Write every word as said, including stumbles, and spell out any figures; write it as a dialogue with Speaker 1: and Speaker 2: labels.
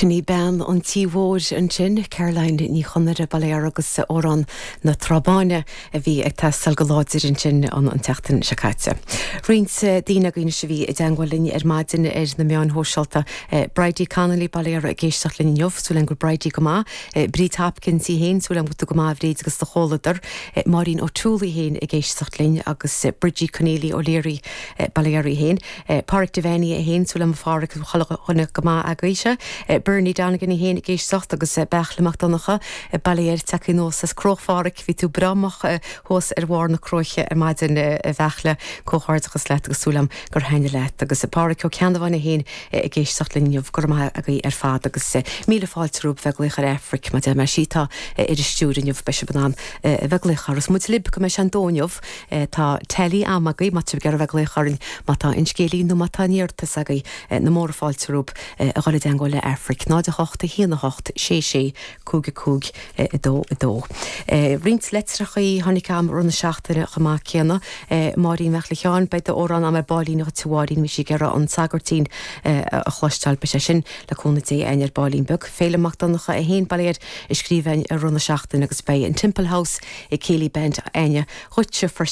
Speaker 1: Sin í bean an tí mhóir ansin, Caroline Ní Chonaire Baile agus amhrán na Trá Báine a bhí ag teastáil go láidir ansin an an tseachtain seo caite. Roinnt daoine againn a bhí i dteagmháil linn ar maidin ar na meáin shóisialta Bridie Connolly Baile ag éisteacht linn inniu súil agam go bhfuil Bridie go maith, Bríd Hopkins í féin súil agam go go maith Bríd agus do chomhluadar, Máirín O'Toole í féin ag éisteacht linn agus Bridgie Cornelia O'Leary Baile í féin, Pádraig Devaney é féin súil agam Phádraig chuile go maith agaibhse, Bernie Donegan í féin ag éisteacht agus Beairtle Mac Donncha Baile te nós as Cróchpháric bhí tú bramach thuas ar bharr na cróiche ar maidin a Bheairtle comhghairdeachas leat agus súil agam gur thaitin leat agus Pádraig Ó Ceannabháin é féin ag éisteacht linn go maith agaibh ar fad agus míle fáilte romhaibh bheith ag glaoch ar Aifric má mar sí tá ar an stiúir inniu beidh sibh in ann bheith ag glaoch agus muid libh go mbeidh sé an dó inniu tá teilí am agaibh má tá ag bheith ag glaoch orainn má tá an scéilín nó má tá iarratas agaibh na móra fáilte romhaibh a dhul i dteagmháil le Aifric náid a hocht a haon a hocht sé sé cúig a cúig a dó a dó. Roinnt litreachaí tháinig agam i rith na seachtaine chomh maith céanna Máirín Mhic Sheáin beidh d'amhrán agam ar baillín a Mháirín bhí sí ag iarraidh an Sagairtín a chloisteáil beidh sé sin le cúnamh Dé againn ar baillín beag. Féilim Mac Donncha é féin Baile a scríobh i rith na seachtaine agus beidh an Temple House i Céilí Band againne dhuitse